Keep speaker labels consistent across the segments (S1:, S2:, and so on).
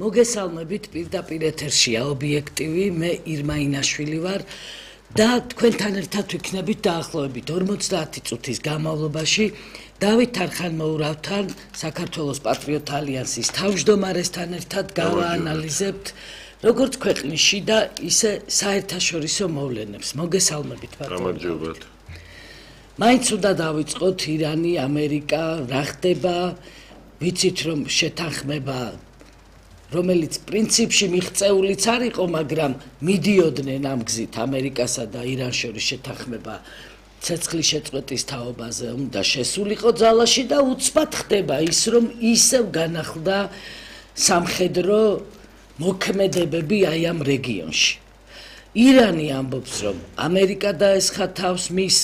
S1: მოგესალმებით პირდაპირ ეთერშია ობიექტივი, მე ირმა ინაშვილი ვარ და თქვენთან ერთად ვიქნებით დაახლოებით 50 წუთის განმავლობაში დავით არხანმოურავთან, საქართველოს პატრიოტ ალიანსის თავმჯდომარესთან ერთად გავაანალიზებთ როგორც ქვეყნისში და ისე საერთაშორისო მოვლენებს. მოგესალმებით
S2: გამარჯობათ.
S1: მაინც უნდა დავიწყოთ ირანი, ამერიკა, რა ხდება, ვიცით რომ შეთანხმება რომელიც პრინციპში მიღწეულიც არ იყო, მაგრამ მიდიოდნენ ამ გზით ამერიკასა და ირანს შორის შეთანხმება ცეცხლის შეწყვეტის თაობაზე უნდა შესულიყო ძალაში და უცბად ხდება ის, რომ ისევ განახლდა სამხედრო მოქმედებები აი ამ რეგიონში. ირანი ამბობს, რომ ამერიკა დაესხა თავს მის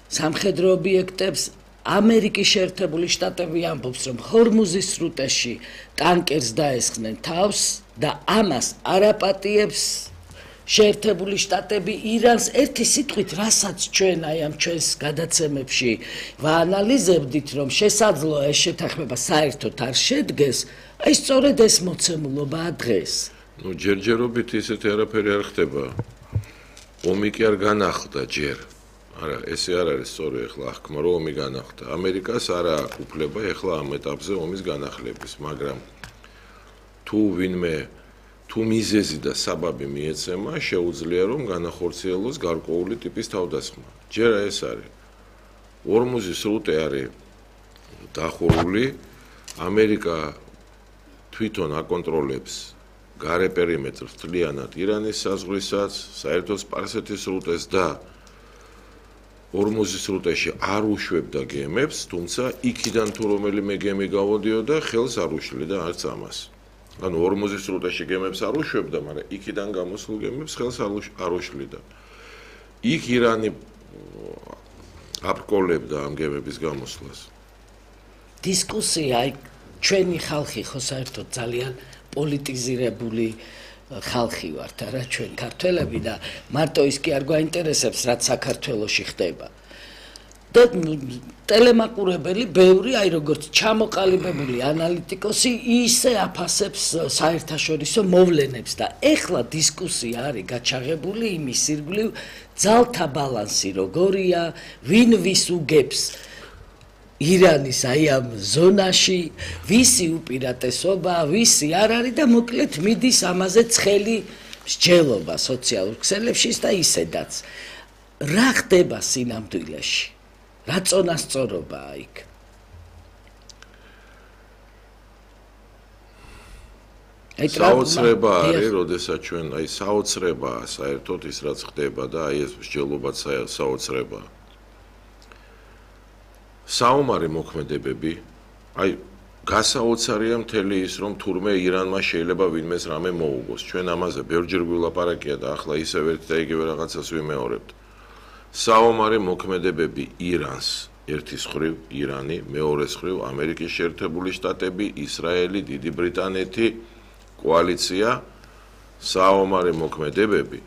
S1: სამხედრო ობიექტებს, ამერიკის შეერთებული შტატები ამბობს, რომ ჰორმუზის სრუტეში ტანკერს დაესხნენ თავს და ამას არაპატიებს შეერთებული შტატები ირანს. ერთი სიტყვით, რასაც ჩვენ აი ამ ჩვენს გადაცემებში ვაანალიზებდით, რომ შესაძლოა ეს შეთანხმება საერთოდ არ შედგეს, აი სწორედ ეს მოცემულობაა დღეს.
S2: ჯერჯერობით ისეთი არაფერი არ ხდება. ომი კი არ განახლდა ჯერ. არა, ესე არ არის სწორი ახლა აღქმა, რომ ომი განახლდა. ამერიკას არ აქვს უფლება ახლა ამ ეტაპზე ომის განახლების, მაგრამ თუ მიზეზი და საბაბი მიეცემა, შეუძლია რომ განახორციელოს გარკვეული ტიპის თავდასხმა. ჯერ ეს არის. ჰორმუზის სრუტე არის დახურული, ამერიკა თვითონ აკონტროლებს გარე პერიმეტრს მთლიანად ირანის საზღვრისაც, საერთო სპარსეთის სრუტეს და ჰორმუზის სრუტეში არ უშვებდა გემებს, თუმცა იქიდან თუ რომელიმე გემი გავოდიოდა, ხელს არ უშლიდა არც ამას. ანუ ჰორმუზის სრუტეში გემებს არ უშვებდა, მაგრამ იქიდან გამოსულ გემებს ხელს არ უშლიდა. იქ ირანი აბკოლებდა ამ გემების გამოსვლას.
S1: დისკუსია, აი ჩვენი ხალხი ხო საერთოდ ძალიან პოლიტიზირებული ხალხი ვართ, არა ჩვენ ქართველები და მარტო ის კი არ გვაინტერესებს, რაც საქართველოში ხდება. და ტელემაყურებელი ბევრი, აი როგორც ჩამოყალიბებული ანალიტიკოსი ისე აფასებს საერთაშორისო მოვლენებს და ეხლა დისკუსია არის გაჩაღებული იმის ირგვლივ, ძალთა ბალანსი როგორია, ვინ ვის უგებს ირანის აი ამ ზონაში, ვისი უპირატესობა, ვისი არ არის და მოკლედ მიდის ამაზე ცხელი მსჯელობა სოციალურ ქსელებში და ისედაც. რა ხდება სინამდვილეში? რა წონასწორობაა იქ?
S2: საოცრება არის, როდესაც ჩვენ აი საოცრებაა საერთოდ ის რაც ხდება და აი ეს მსჯელობაც საოცრებაა. საომარი მოქმედებები, აი გასაოცარია მთელი ის, რომ თურმე ირანმა შეიძლება ვინმეს რამე მოუგოს. ჩვენ ამაზე ბევრჯერ გვილაპარაკია და ახლა ისევ ერთ და იგივე რაღაცას ვიმეორებთ. საომარი მოქმედებები ირანს, ერთის მხრივ ირანი, მეორეს მხრივ ამერიკის შეერთებული შტატები, ისრაელი, დიდი ბრიტანეთი, კოალიცია, საომარი მოქმედებები.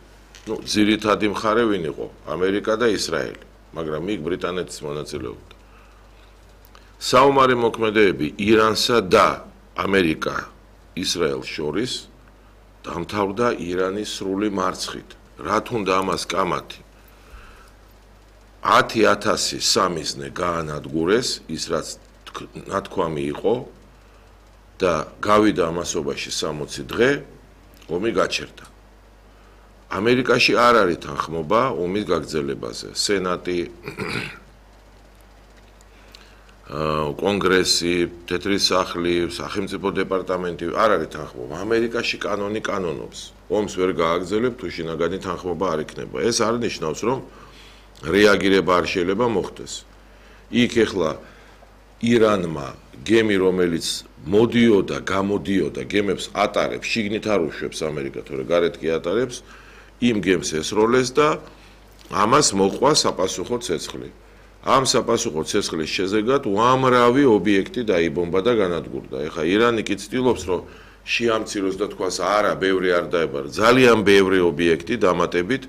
S2: ძირითადი მხარე ვინ იყო? ამერიკა და ისრაელი, მაგრამ იქ ბრიტანეთის მონაწილეობდა. საომარი მოქმედებები ირანსა და ამერიკა ისრაელს შორის დამთავრდა ირანის სრული მარცხით. რა თუნდა ამას კამათი? 10,000 სამიზნე გაანადგურეს, ის რაც ნათქვამი იყო და გავიდა ამასობაში 60 დღე, ომი გაჩერდა. ამერიკაში არ არის თანხმობა ომის გაგრძელებაზე. სენატი კონგრესი, თეთრი სახლი, სახელმწიფო დეპარტამენტი არ არის თანხმობა. ამერიკაში კანონი კანონობს. ომს ვერ გააგრძელებ, თუ შინაგანი თანხმობა არ იქნება. ეს არ ნიშნავს, რომ რეაგირება არ შეიძლება მოხდეს. იქ ეხლა ირანმა გემი, რომელიც მოდიოდა, გამოდიოდა, გემებს ატარებს, შიგნით არ უშვებს ამერიკა, თორე გარეთ კი ატარებს, იმ გემს ესროლეს და ამას მოყვა საპასუხო ცეცხლი. ამ საპასუხო ცეცხლის შეზეგად უამრავი ობიექტი დაიბომბა და განადგურდა. ეხლა ირანი კი ცდილობს, რომ შეამციროს და თქვას, არა, ბევრი არ დაებარა. ძალიან ბევრი ობიექტი დამატებით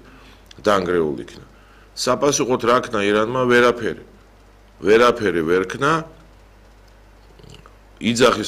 S2: დანგრეულ იქნა. საპასუხოდ რა ქნა ირანმა? ვერაფერი ვერ ქნა. იძახის